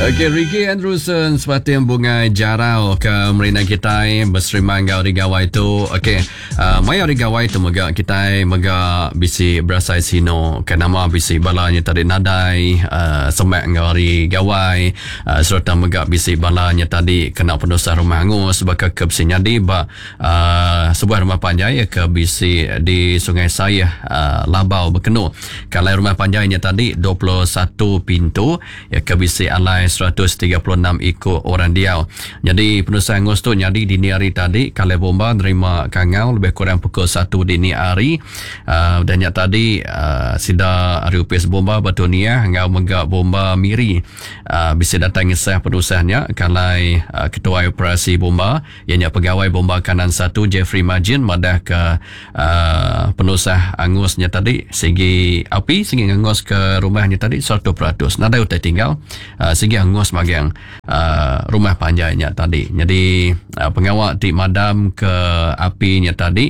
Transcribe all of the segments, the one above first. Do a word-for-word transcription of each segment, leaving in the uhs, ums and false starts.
Okey, Ricky Andrewson sepating bungai jarau ke merina kitai berserima enggau hari gawai tu. Okey, uh, maya hari gawai tu mega kitai mega bisi berasai sino ke nama bisi balanya tadi nadai uh, semak enggau hari gawai uh, serta mega bisi balanya tadi kena penusah rumah angus baka ke bisi nyadi ba uh, sebuah rumah panjai ke bisi di Sungai Sayah uh, Labau Bekenu. Kalau rumah panjainya tadi dua puluh satu pintu ya ke bisi alai seratus tiga puluh enam ikut orang diau. Jadi penusah angus tu nyadi dini hari tadi kalau bomba nerima kangau lebih kurang pukul satu dini hari. Uh, dan nyak tadi uh, sida ari upis bomba Batu Niah ngau mega bomba Miri uh, bisa datang ngesah penusahnya kalai uh, ketua operasi bomba ianya pegawai bomba kanan satu Jeffrey Majin madah ke uh, penusah angusnya tadi segi api segi angus ke rumahnya tadi seratus peratus nadai utai tinggal uh, segi angus magang uh, rumah panjainya tadi. Jadi uh, pengawak ti madam ke apinya tadi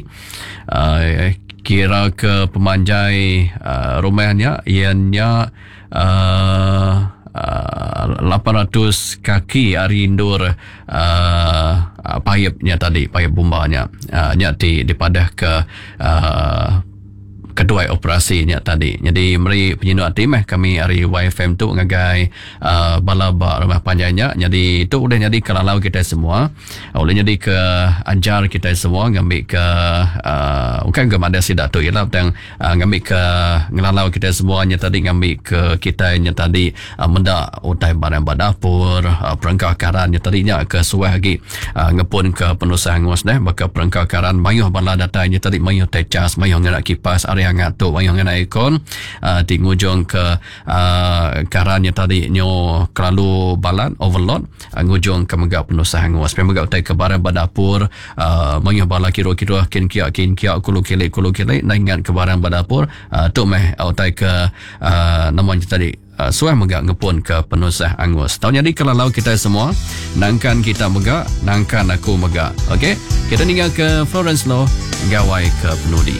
uh, kira ke pemanjai uh, rumahnya ianya uh, uh, lapan ratus kaki ari indur uh, paipnya tadi, paip bombanya uh, nya ti dipadah ke uh, kedua operasinya tadi. Jadi meri penyinu ati meh kami ari Y F M tu ngagai uh, bala ba rumah panjainya. Jadi tu udah jadi kelalau kita semua. Boleh jadi ke ajar kita semua ngambil ke uh, bukan ke mana sidak tu ialah tang uh, ngambil ke ngelalau kita semuanya tadi ngambil ke kita nya tadi uh, mendak utai barang ba dapur uh, perengkah karannya tadi nya ke suah lagi uh, ngepun ke penusah angus deh baka perengkah karan mayuh bala datainya tadi mayuh tecas mayuh ngena kipas ari hangat tu mayuh ngena aircon uh, ti ngujung ke uh, karannya tadi nyo kelalu balat overload uh, ngujung ke mega penusah angus pe mega utai ke barang ba dapur uh, mayuh bala kiro-kiro kin kia kin kia kulu kilik kulu kilik na ingat ke barang ba dapur uh, tu meh utai ke uh, namanya tadi Uh, suah mega ngepun ke penusah angus. Tau jadi kelalau kita semua nangkan kita mega nangkan aku mega. Okey, kita ninggal ke Florence Loh gawai ke penudi.